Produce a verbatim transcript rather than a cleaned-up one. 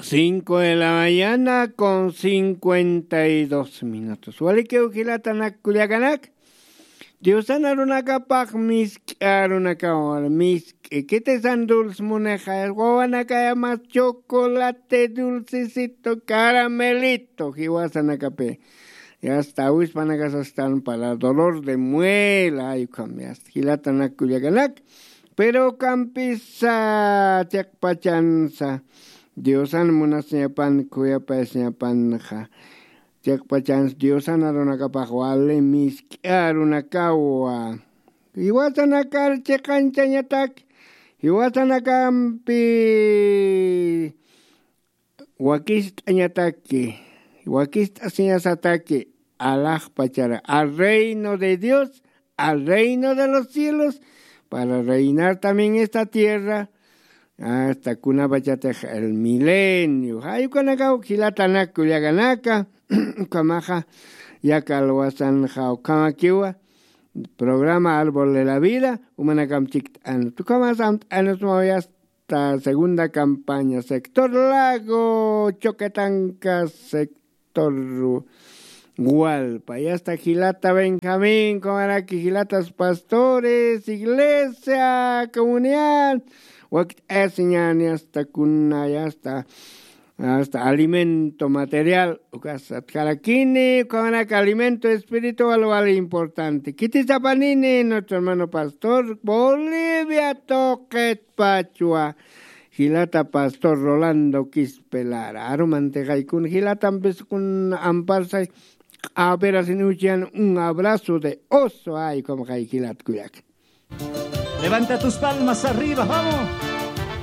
Cinco de la mañana con cincuenta y dos minutos. Walikiw jilatanak kullakanak. Diosan arunakapax misk'i arunakaw, misk'i. Kitisan dulce munixa, wawanakaya mas chocolate, dulcecito, caramelito, jiwasanakapi. Y hasta awispanakasastan para dolor de muela, ay, ukham, y hasta jilatanak kullakanak. Pero ukampisa chiqpachansa Diosan munasiñapan, khuyapayasiñapanxa. Chiqpachansa Diosan arunakapax wali misk'i arunakawa. Jiwasanakar chiqanchañatak, jiwasanakampi wakist'añataki, wakist'asiñasataki, alaxpachara, al reino de Dios, al reino de los cielos, para reinar también esta tierra, hasta kunapachatix el milenio. Jay ukanakaw jilatanak kullakanaka, ukhamaxa, yaka alwasanxa ukhamakiwa, programa Árbol de la Vida, umanakam chikt'an. Tukamas amt'anusmaw yasta segunda campaña, sector Lago, Choquetanca, sector Gualpa, yasta jilata Benjamín, kumaraki jilatas pastores, iglesia, comunidad, wakt'asiñani hasta kuna, yasta hasta alimento material, ukasatkarakini, ukamanaka alimento espiritual wali importante. Kitisapanini, nuestro hermano pastor, Bolivia, Toquetpachua, jilata pastor Rolando Quispelara. Arumantixaykun, jilatampis kun amparsay, q'apirasinuchan, un abrazo de oso, ay, como jay jilat kullak. Levanta tus palmas arriba, vamos.